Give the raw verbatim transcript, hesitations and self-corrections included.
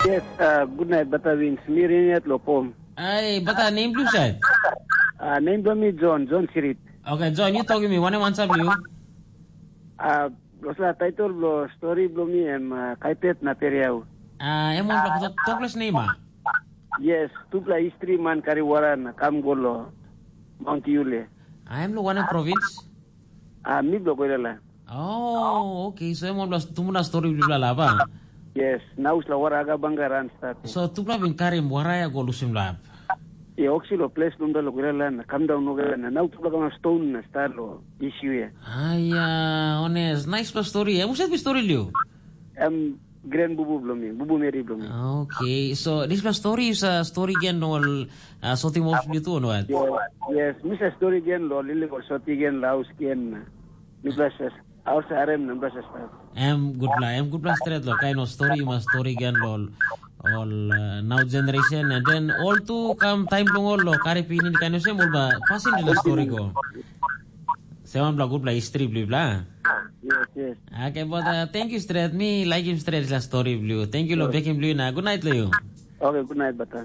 Yes, uh, good night, Bata Wins. Mi Riniat lo pom. Ai, Bata, nem blu sait? Uh, nem blo mi John, John Sirit. Okay, John, you talking me. One one sab you. Uh, Rosla title blo story blo mi em uh, Kaitet na Periau. Ah, em wan blo toklas nem ah. Yes, tupla history man kari wara na kam go lo Mount Yule. Ah, em lo wan province? Ah, mi blo Koilala. Oh, okay. So em wan blo tumuna story bla bla ba. Yes, na usla wara aga banga ran start. So tupla bin karim wara ya go lusim lap. Ye oksi lo ples nunda lo Koilala na kam down no na nau tupla kama stone na start lo issue ya. Aya, honest. Nice bla story. Em uset bi story liu. Em grand bubu blo mi, bubu meri blo mi. Okay, so this bla story is a story gen ol uh, sotim off liu tu no at. Yes, yes, misa story gen lo lili ol soti gen laus gen. Mi bla ses, aus arem na bla ses. Em gutpela, em gutpela stret lo kain ol story mas story gen lo ol uh, now generation and then all tu kam time long ol lo kari pinin kain olsem ol ba pasin dina story go. Sewan bla gutpela history bli bla. Yes, yes. Okay, but uh, thank you stret. Mi like him stret la story bli. Thank you lo bekim bli na. Good night lo you. Okay, good night, Bata.